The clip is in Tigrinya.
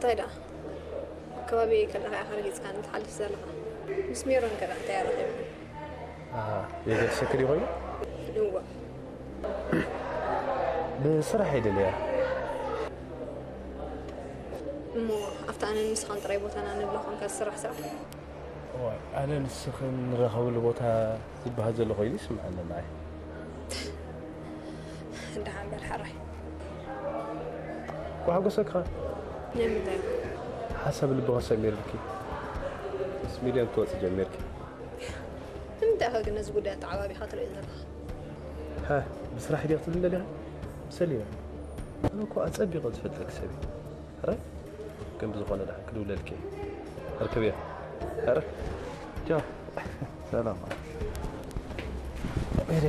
እንታይ ደኣ ከባቢ ከለኻ ኢኻ ረጊጽካኒ ትሓልፍ ዘለኻ? ምስ ሜሮን ከ እንታይ ኣረኺብና? የገድሰኪ ድዩ ኮይኑ? እወ። ብስራሕ እየ ደልያ። እሞ ኣብታ ኣነን ንስኻን ጥራይ ቦታና ንብሎ ኮንካ ዝስራሕ ስራሕ? እዋይ፣ ኣነ ንስኽን ንራኸበሉ ቦታ ዝበሃል ዘሎ ኮይኑ ይስምዐኒ ንዓይ። ደሓን በል ሕራይ። ኳሕጎሰካ። ናይ ምንታይ? ሓሳብ ልብኻ ሰሚርልኪ፣ ምስ ሚልዮን ክትወፂ ጀሚርኪ። ንምንታይ ኢኻ ግን ነዚ ጉዳይ ኣተዓባቢኻ ትርእዮ ዘለኻ? ሃ፣ ብስራሕ ድያ ክትብል ደሊኻ? ሰሊና፣ ኣነ እኮ ኣጸቢቐ ዝፈልጠኪ ሰብ እየ። ሕራይ? ግን ብዝኾነ ደሓን ክድውለልኪ እየ። ርክብዮ። ሕራይ? ቻው። ሰላም። ኤሪ።